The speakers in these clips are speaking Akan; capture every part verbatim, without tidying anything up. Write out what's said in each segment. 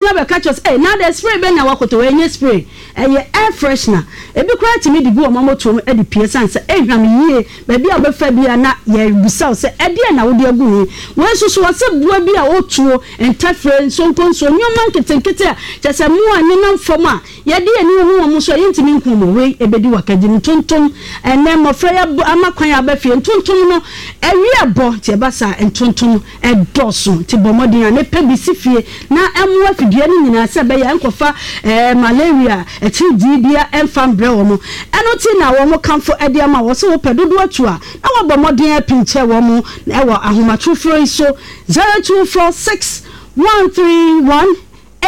Na bɛka kyerɛ sɛ, "Ɛy, na de spray bɛ na wakɔtɔ?" Wɔ ɛnyɛ spray, ɛyɛ air freshener. Ebi koraa tumi de gu wɔn amotoom de pie san sɛ ɛhwam yie. Baabi a wobɛfa bi a, na yɛbusa wo sɛ, "Ɛdeɛ na wode agu ho?" Wei nso so, wɔsɛ boa bi a ɔtuo ntɛfrɛ, nsonkonso, nneɛma nketenkete a kyerɛ sɛ mmoa nenam fam a yɛde yɛn ani hu wɔn so a yɛntumi nku wɔn. Wei ebɛdi wakagye ntontom. Ɛnɛ mmɔfra yi ama kwan aba fie, ntontom no ɛwi ɛbɔ, nti ɛba saa, ntontom ɛdɔɔso. Nti bɔ mmɔden a ne pɛ bi si fie na ɛmmoa fidua no nyinaa sɛ ɛbɛyɛ nkɔfa ɛɛ malaria akyiridii bia ɛmfa mbrɛ wɔn. Ɛno ti na wɔn kamfo ɛde ama wɔ sɛ wopɛ dodoɔ atu a, na wɔbɔ mmɔden apinkyɛ wɔn ɛwɔ ahomatorofoɔ yi so, zero two four six one three one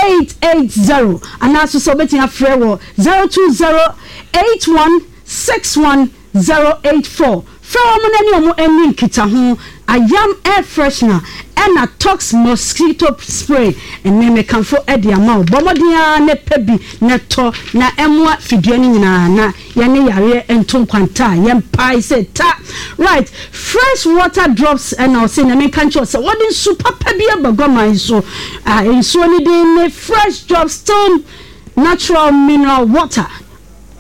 eight eight zero, anaasɛ sɛ wobɛtumi afrɛ wɔ zero two zero eight one six one zero eight four. Frɛ wɔn na ne wɔn ani nkita ho. Ayam air freshener ɛna Tox mosquito spray, ɛnɛ mekamfo ɛde ama wo. Bɔ mmɔden ara ne pɛ bi na tɔ na ɛmoa fidua no nyinaa na yɛne yareɛ nto nkwanta a yɛmpae sɛ ta. Right, Fresh Water Drops ɛna ɔsɛ na menka nkyerɛ sɛ wɔde nsu papa bi aba guaman so a nsuo no din ne Fresh Drops Still Natural Mineral Water.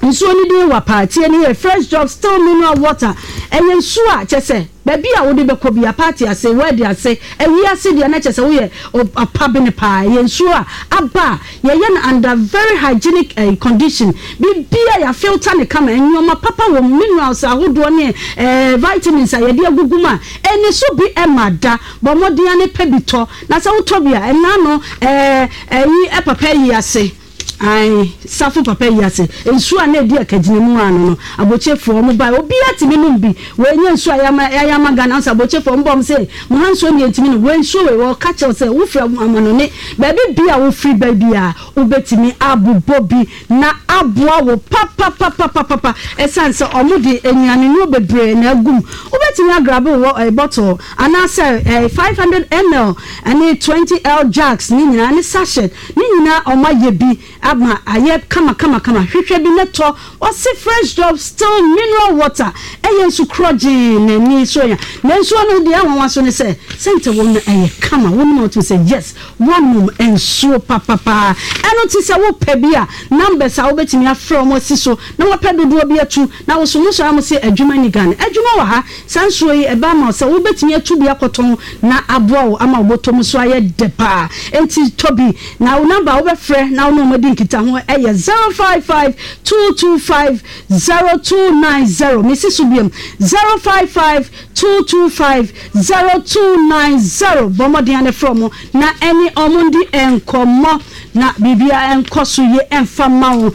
Nsuo no din wɔ paatie no yɛ Fresh Drops Still Mineral Water. Ɛyɛ nsuo a kyɛ sɛ baabi a wode bɛkɔ bi a, party ase, wedding ase, ayi ase deɛ, na kyɛ sɛ woyɛ ɔpa bene paa. Ɛyɛ nsuo a aba a yɛyɛ no under very hygienic uh, condition. Bibia yɛ filter ne kama, nneɛma papa wɔ minerals ahodoɔ ne uh, vitamins a yɛde agugu mu a ɛni so bi ɛma da. Bɔ mmɔden ne pɛ bi tɔ, na sɛ wotɔ bi a, ɛna no ɛɛ ɛyi ɛpapa yi ase ayi safo papa yi ase nsuo a na edi akagyina mu ano no, abɔkyefoɔ ɔmo ba, obiara tumi nom bi. Wɔnyɛ nsuo a yɛama yɛama Ghana nso, abɔkyefoɔ ɔmo bɔ ɔmo sɛ mo ha nsuo nie ntumi no. Wɔn nsuo wei, wɔka kyerɛw sɛ wofiri amanɔne baabi bi a, wofiri baabi a, wobɛtumi abobɔ bi na aboa wo papapapapapa, ɛsiane sɛ ɔmo de nnuane bebree na agum. Wobɛtumi agrab wɔ ɛɛ bottle anaasɛ ɛɛ five hundred ml ɛne twenty l jugs ne nyinaa ne sachet ne nyinaa. Ɔmo ayɛ bi ama ayɛ kama kama kama. Hwehwɛ bi ne tɔ. Ɔsi Fresh Drop Still Mineral Water ɛyɛ nsu korɔgyee n'ani so ya, na nsuo no deɛ ɛwɔn so ne sɛ sɛnte wɔm no ɛyɛ kama. Wɔn mu ɔtum sɛ yes, wɔnom nsuo papapaa. Ɛno ti sɛ wopɛ bi a, numbers a wobɛtumi afrɛ wɔn asi so na wɔpɛ dodoɔ bi atu na woso mo sɔrɔ mo sɛ adwuma ni Ghana, adwuma wɔ ha. Saa nsuo yi ɛba ama sɛ wobɛtumi atu bi akɔtɔn na aboa wo ama wobɔtɔ mu so ayɛ dɛ paa. Nti tɔ bi na wo number a wobɛfrɛ na wo ne wɔn adi nkitaho ɛyɛ zero five five two two five zero two nine zero. Mesi so biom, zero five five two two five zero two nine zero. Bɔ mmɔden ane frɛ mo na ɛne ɔmo ndi nkɔmmɔ na biribiara nkɔ so yie ɛmfa ma wo.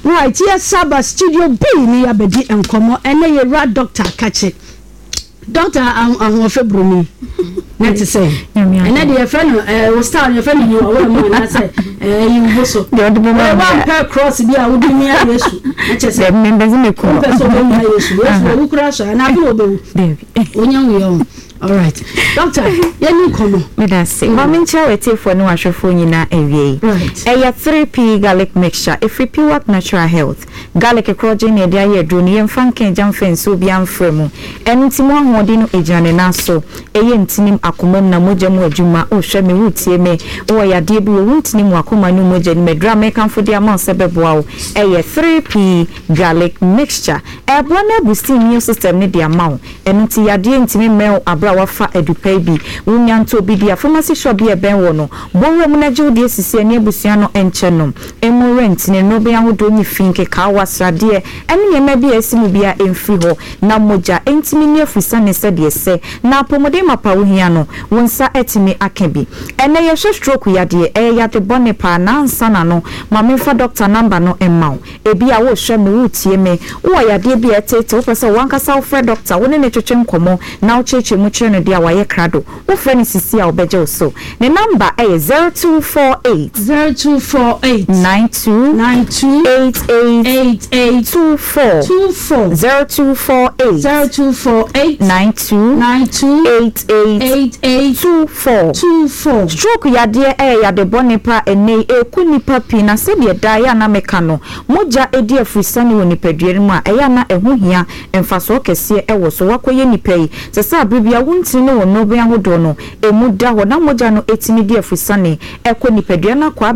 Right, yɛ saba Studio B ne yɛabɛdi nkɔmmɔ. Ɛnɛ yɛwura Doctor Kakye, Doctor Ahoɔfɛ Buroni, na te sɛ ɛnɛ de yɛfrɛ no ɛɛ wo style, yɛfrɛ no yiwa mu anaasɛ ɛɛ yiwo so. Deɛ ɔde bɛma ɛɛ me. Wampɛ cross bi a wode mia Yesu na kyerɛ sɛ Dɛbi, mempɛ sɛ mekɔ. Wompɛ sɛ wobɛmia Yesu. Yesu wawu koraa so anaa afe na wobɛwu? Dɛbi. Wonya wuyɛ o. Alright, Doctor, yɛni nkɔmmɔ. Meda ase. Ma menkyerɛ w'atiefoɔ ne w'ahwɛfoɔ nyinaa awie yi. Right. Ɛyɛ three P garlic mixture ɛfiri Piwak Natural Health. Garlic korɔgye na yɛde ayɛ aduro no, yɛmfa nka agya mfa nsuo bi amfrɛ mu. Ɛno nti mu ahoɔden no ɛgyina ne nan so. Ɛyɛ ntinim, akoma mu na mogya mu adwuma. Wohwɛ me, wotie me, wowɔ yadeɛ bi wɔ wo ntinim, akoma no mogya no mu, aduro a mekamfo de ama wo sɛ bɛboa wo ɛyɛ three P garlic mixture. Ɛboa no aboost immune system no de ama wo. Ɛno nti yadeɛ ntumi mmɛn wo aberɛ a wafa adupa yi bi. Wonya nto obi di a, pharmacy shop bi a ɛbɛn wɔ no, bɔwura mu na gye wo deɛ sisi ɛne abusua no nkyɛn nom. Emu rent ne nnɔbɛn ahodoɔ ne fi nkekaawa, sradeɛ ɛne nneɛma bi a ɛsi mu bia ɛmfiri hɔ na mogya ɛntumi ni afusane sɛdeɛ sɛ na apɔmuden mapa wohia no, wo nsa atumi aka bi. Ɛnɛ yɛhwɛ stroke yadeɛ. Ɛyɛ yade bɔne paa. Nansa na no, ma memfa doctor number no mma wo. Ebi a wohwɛ me, wotie me, wowɔ yadeɛ bi a ɛtete, wopɛ sɛ wankasa wofrɛ doctor, wo ne ne twetwe nkɔmmɔ na wokyerɛkyerɛ mu kyerɛ no deɛ a wayɛ krado, wofrɛ no sisi a, wobɛgye wo so. Ne number ɛyɛ zero two four eight zero two four eight nine two nine two eight eight eight eight two four two four zero two four eight zero two four eight nine two nine two eight eight eight eight two four. two four. Stroke yadeɛ ɛyɛ yade bɔne pa. Ɛnɛ yi ɛku nipa pii, na sɛdeɛ daa yɛ ana meka no, mogya edi afurisane wɔ nipadua no mu a, ɛyɛ ana ɛho hia mfasoɔ kɛseɛ ɛwɔ so wakɔyɛ nipa yi sɛ sɛ abere bi a Ɛma wo ntini ne wo nnɔbɛn ahodoɔ no ɛmu da hɔ na mogya no ɛtumi di afusane ɛkɔ nipadua no akɔ abɛ.